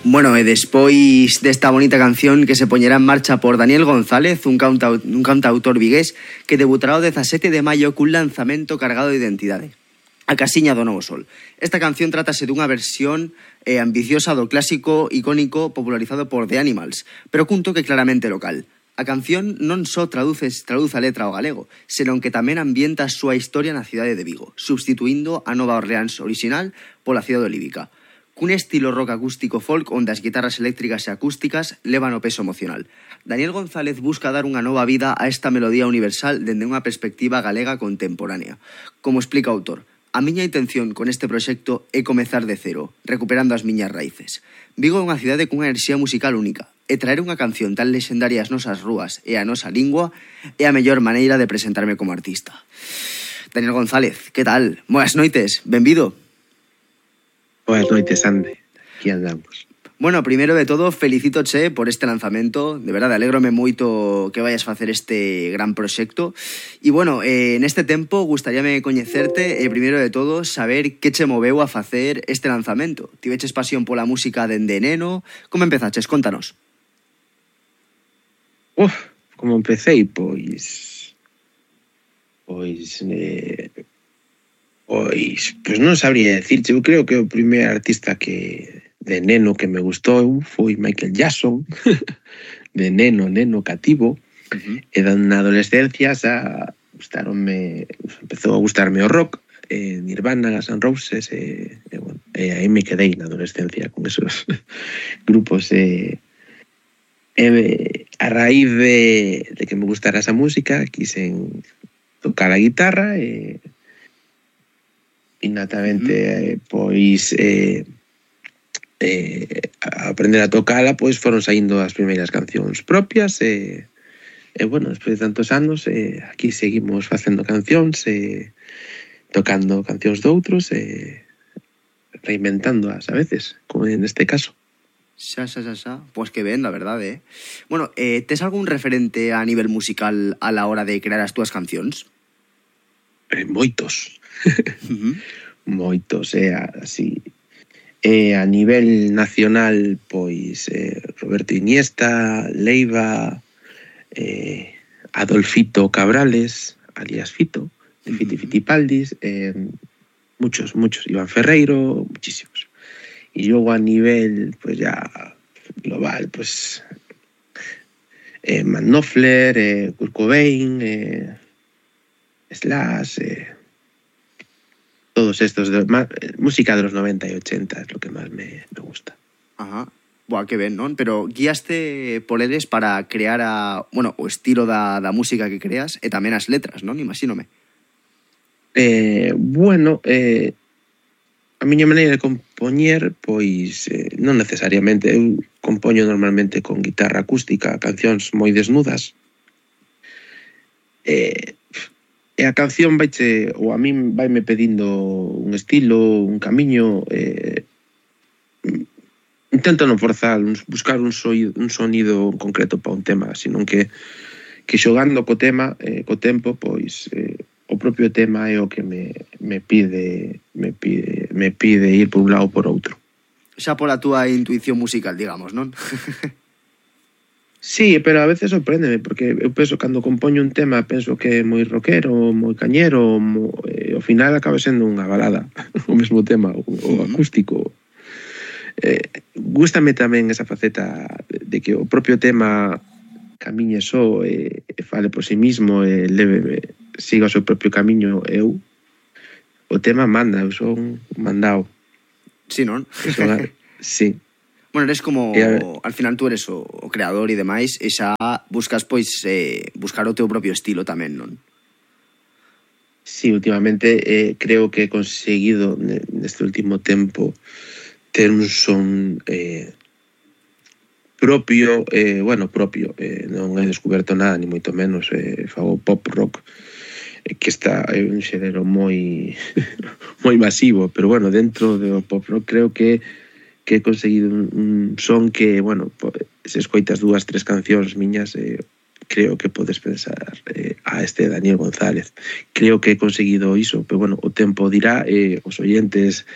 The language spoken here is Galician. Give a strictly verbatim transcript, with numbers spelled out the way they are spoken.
Bueno, e despois desta bonita canción que se poñerá en marcha por Daniel González, un, cantau un cantautor vigués que debutará o dezasete de maio cun lanzamento cargado de identidade. A Casiña do Novo Sol. Esta canción trátase dunha versión eh, ambiciosa do clásico icónico popularizado por The Animals, pero cun toque claramente local. A canción non só traduce, traduce a letra ao galego, senón que tamén ambienta a súa historia na cidade de Vigo, substituindo a Nova Orleans original pola cidade olívica. Cun estilo rock acústico folk onde as guitarras eléctricas e acústicas levan o peso emocional. Daniel González busca dar unha nova vida a esta melodía universal dende unha perspectiva galega contemporánea. Como explica o autor, a miña intención con este proxecto é comezar de cero, recuperando as miñas raíces. Vigo é unha cidade cunha enerxía musical única, e traer unha canción tan lexendaria ás nosas rúas e á nosa lingua é a mellor maneira de presentarme como artista. Daniel González, que tal? Boas noites, benvido. Boas noites, Ande. Aquí andamos. Bueno, primeiro de todo, felicítoche por este lanzamento. De verdade, alégrome moito que vayas facer este gran proxecto. E, bueno, eh, neste tempo, gustaríame coñecerte e, primeiro de todo, saber que che moveu a facer este lanzamento. Tiveches pasión pola música dende neno? Como empezaches? Contanos. Uf, como empecéi, pois... Pois... Eh... Pois, pois non sabría decirche, eu creo que o primeiro artista que de neno que me gustou foi Michael Jackson, de neno, neno cativo, uh-huh. E na adolescencia xa gustaronme, empezou a gustarme o rock, eh, Nirvana, Guns N' Roses, e, e, bueno, e aí me quedei na adolescencia con esos grupos, e, e a raíz de, de que me gustara esa música, quisen tocar a guitarra, e innatamente, mm. pois eh, eh, a aprender a tocala, pois foron saindo as primeiras cancións propias e, e bueno, despois de tantos anos eh, aquí seguimos facendo cancións e tocando cancións doutros e reinventándoas a veces, como neste caso. Xa, xa, xa, xa. Pois que ben, la verdade, eh? Bueno, eh, tes algún referente a nivel musical a la hora de crear as túas cancións? Eh, moitos. Uh-huh. Moitos, é eh, así. E a nivel nacional, pois eh, Roberto Iniesta, Leiva, eh, Adolfito Cabrales, alias Fito, de uh-huh. Fiti Fitipaldis, eh, muchos, muchos, Iván Ferreiro, muchísimos. E logo a nivel, pois ya global, pois eh, Matt Knopfler, eh, Kurt Cobain, eh, Slash, eh, todos estos, de, más, música de los noventa y ochenta es lo que más me, me gusta. Ajá. Buah, que ben, non? Pero guiaste por eles para crear a, bueno, o estilo da, da música que creas e tamén as letras, non? Imagínome. Eh, bueno, eh, a miña maneira de compoñer, pois, eh, non necesariamente. Eu compoño normalmente con guitarra acústica, cancións moi desnudas. Eh... E a canción vaiche, ou a min vaime pedindo un estilo, un camiño, eh, intento non forzar, buscar un, soido, un sonido concreto para un tema, senón que, que xogando co tema, eh, co tempo, pois eh, o propio tema é o que me, me pide me pide me pide ir por un lado ou por outro. Xa pola túa intuición musical, digamos, non? Sí, pero a veces sorpréndeme, porque eu penso, cando compoño un tema, penso que é moi rockero, moi cañero, moi, e ao final acaba sendo unha balada, o mesmo tema, o, o acústico. Eh, gústame tamén esa faceta de que o propio tema camiñe só e, e fale por sí mismo e leve, siga o seu propio camiño. Eu, o tema manda, eu son mandado. Sí, non? Son, sí. Bueno, eres como, al final tú eres o, o creador e demais, e xa buscas, pois, eh, buscar o teu propio estilo tamén, non? Sí, últimamente eh, creo que he conseguido neste último tempo ter un son eh, propio, eh, bueno, propio, eh, non he descoberto nada, ni moito menos, eh, fago pop rock, eh, que está é un xénero moi moi masivo, pero bueno, dentro do pop rock creo que que he conseguido un, un son que, bueno, se escoitas dúas, tres cancións miñas, eh, creo que podes pensar eh, a este Daniel González. Creo que he conseguido iso, pero bueno, o tempo dirá, eh, os oyentes